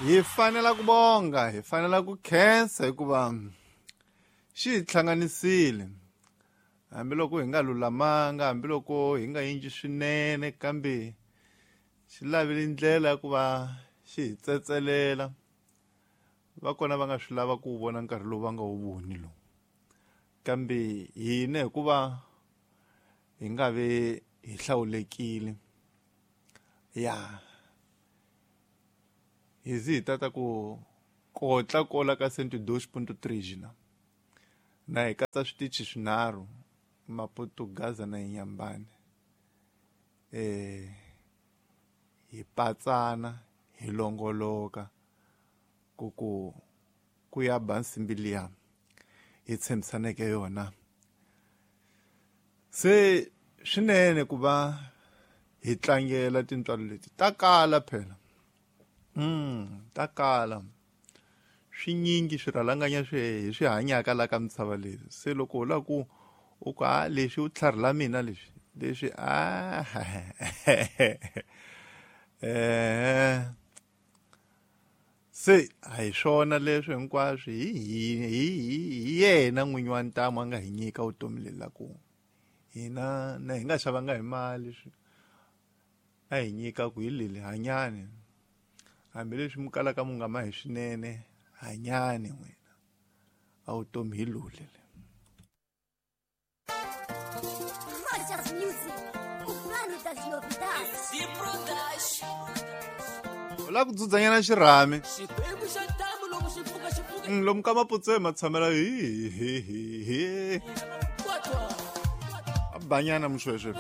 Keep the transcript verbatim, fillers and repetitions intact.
Hi fanela ku bonga, hi fanela ku khensa hikuva xi hi hlanganisile. Hambiloko hi nga lulamanga, hambiloko hi nga endli swinene, kambe xi lavile ndlela ya ku va xi hi tsetselela. Va kona va nga swi lava ku vona nkarhi lowu va nga wu voni lowu. Kambe hina hikuva hi nga ve hi hlawulekile, ya hi zi hi tata ku kotla kola ka cento dois ponto três na na hi katsa switichi swinharhu, Maputo, Gaza na Inhambane. Eh hi patsana hi longoloka ku ku ku ya ba nsimbi liya hi tshembisaneke yona. Se swinene ku va hi tlangela tintswalo leti ta kala phela. Mm, ta kala. Swinyingi swirhalanganya swi hi swi hanyaka la ka misava leyi. Se loko u lava ku u ku a leswi u tlharhi mina leswi leswi a eh se a hi swona leswi hinkwaswo hi hi hi hi yena n'winyi wa ntamu a nga hi nyika vutomi leli la ku hina na hi nga xavanga hi mali swi a hi nyika ku hi leli hanyani, hambileswi mi kalaka mu nga ma hi swinene, hanyani n'wina a vutomi hi lule. Rojas Music, o plano das novidades. U lava ku dzudzanyana xirhami. Lomu ka Maputswe ma tshamela hi hi hi hi. A banyana mushweshwe.